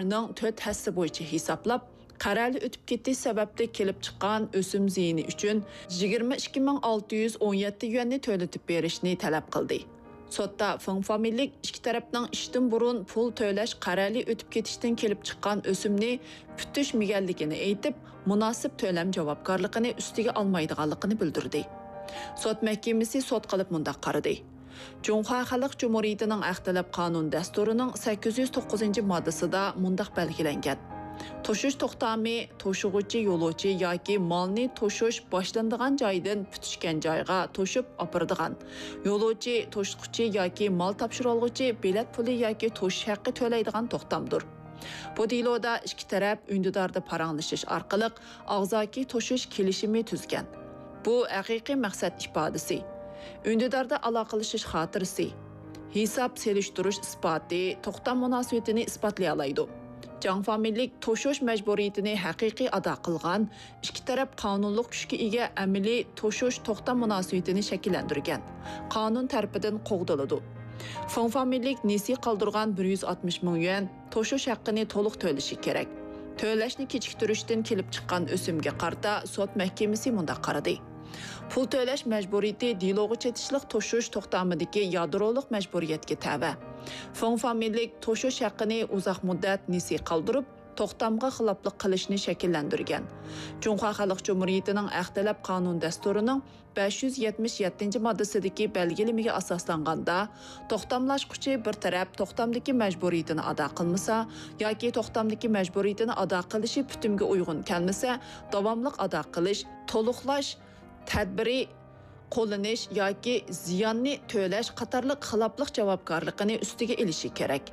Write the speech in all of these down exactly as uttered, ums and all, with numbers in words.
نىڭ تۆت ھەسسە بويىچە ھېسابلاپ، قەرەلى ئۆتۈپ كېتىش سەۋەبلىك كېلىپ چىققان ئۆسۈم زىيىنى ئۈچۈن يىگىرمە ئىككى مىڭ ئالتە يۈز ئون يەتتە يۈەننى تۆلىتىپ بېرىشنى تەلەپ قىلدى. سوتتا فېڭ فامىلىلىك ئىككى تەرەپنىڭ ئىشتىن بۇرۇن پۇل تۆلەش قەرەلى ئۆتۈپ كېتىشتىن كېلىپ چىققان ئۆسۈمنى پۈتۈشمىگەنلىكىنى ئېيتىپ، مۇناسىپ تۆلەم جاۋابكارلىقىنى ئۈستىگە ئالمايدىغانلىقىنى بىلدۈردى. سوت مەھكىمىسى سوت قىلىپ مۇنداق قارىدى. جۇڭخۇا خەلق جۇمھۇرىيىتىنىڭ ھەق تەلەپ قانۇن دەستۇرىنىڭ سەككىز يۈز توققۇزىنچى ماددىسىدا مۇنداق بەلگىلەنگەن: توشۇش توختامى توشۇغۇچى يولۇچى ياكى مالنى توشۇش باشلىنىدىغان جايدىن پۈتۈشكەن جايغا توشۇپ ئاپىرىدىغان، يولۇچى، توشۇتقۇچى ياكى مال تاپشۇرۇۋالغۇچى بېلەت پۇلى ياكى توشۇش ھەققى تۆلەيدىغان توختامدۇر. بۇ دېلودا ئىككى تەرەپ ئۈندىداردا پاراڭلىشىش ئارقىلىق ئاغزاكى توشۇش كېلىشىمى تۈزگەن. بۇ ھەقىقىي مەقسەت ئىپادىسى، ئۈندىداردا ئالاقىلىشىش خاتىرىسى، ھېساب سېلىشتۇرۇش ئىسپاتى توختام مۇناسىۋىتىنى ئىسپاتلىيالايدۇ. جاڭ فامىلىلىك توشۇش مەجبۇرىيىتىنى ھەقىقىي ئادا قىلغان، ئىككى تەرەپ قانۇنلۇق كۈچكە ئىگە ئەمەلىي توشۇش توختام مۇناسىۋىتىنى شەكىللەندۈرگەن، قانۇن تەرىپىدىن قوغدىلىدۇ. فېڭ فامىلىلىك نېسى قالدۇرغان بىر يۈز ئاتمىش مىڭ يۈەن توشۇش ھەققىنى تولۇق تۆلىشى كېرەك. تۆلەشنى كېچىكتۈرۈشتىن كېلىپ چىققان ئۆسۈمگە قارىتا سوت مەھكىمىسى مۇنداق قارىدى: پۇل تۆلەش مەجبۇرىيىتى دېلوغا چېتىشلىق توشۇش توختامىدىكى يادرولۇق مەجبۇرىيەتكە تەۋە. فېڭ فامىلىلىك توشۇش ھەققىنى ئۇزاق مۇددەت نېسى قالدۇرۇپ، توختامغا خىلاپلىق قىلىشنى شەكىللەندۈرگەن. جۇڭخۇا خەلق جۇمھۇرىيىتىنىڭ ھەق تەلەپ قانۇن دەستۇرىنىڭ بەش يۈز يەتمىش يەتتىنچى ماددىسىدىكى بەلگىلىمىگە ئاساسلانغاندا، توختاملاشقۇچى بىر تەرەپ توختامدىكى مەجبۇرىيىتىنى ئادا قىلمىسا ياكى توختامدىكى مەجبۇرىيىتىنى ئادا قىلىشى پۈتۈمگە ئۇيغۇن كەلمىسە، داۋاملىق ئادا قىلىش، تولۇقلاش تەدبىرى قوللىنىش ياكى زىياننى تۆلەش قاتارلىق خىلاپلىق جاۋابكارلىقىنى ئۈستىگە ئېلىشى كېرەك.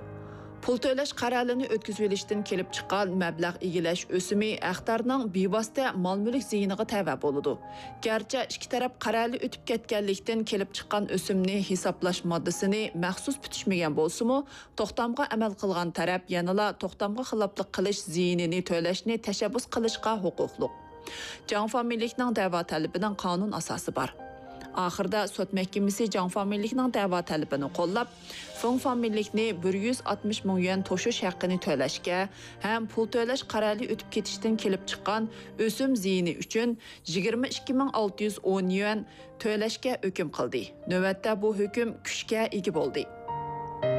پۇل تۆلەش قەرەلىنى ئۆتكۈزۈۋېلىشتىن كېلىپ چىققان مەبلەغ ئىگىلەش ئۆسۈمى ھەقدارنىڭ بىۋاسىتە مال-مۈلۈك زىيىنىغا تەۋە بولىدۇ. گەرچە ئىككى تەرەپ قەرەلى ئۆتۈپ كەتكەنلىكتىن كېلىپ چىققان ئۆسۈمنى ھېسابلاش ماددىسىنى مەخسۇس پۈتۈشمىگەن بولسىمۇ، توختامغا ئەمەل قىلغان تەرەپ يەنىلا توختامغا خىلاپلىق قىلىش زىيىنىنى تۆلەشنى تەشەببۇس قىلىشقا ھوقۇقلۇق. جاڭ فامىلىلىكنىڭ دەۋا تەلىپىنىڭ قانۇن ئاساسى بار. ئاخىرىدا سوت مەھكىمىسى جاڭ فامىلىلىكنىڭ دەۋا تەلىپىنى قوللاپ، فېڭ فامىلىلىكنى بىر يۈز ئاتمىش مىڭ يۈەن توشۇش ھەققىنى تۆلەشكە ھەم پۇل تۆلەش قەرەلى ئۆتۈپ كېتىشتىن كېلىپ چىققان ئۆسۈم زىيىنى ئۈچۈن يىگىرمە ئىككى مىڭ ئالتە يۈز ئون يۈەن تۆلەشكە ھۆكۈم قىلدى. نۆۋەتتە بۇ ھۆكۈم كۈچكە ئىگە بولدى.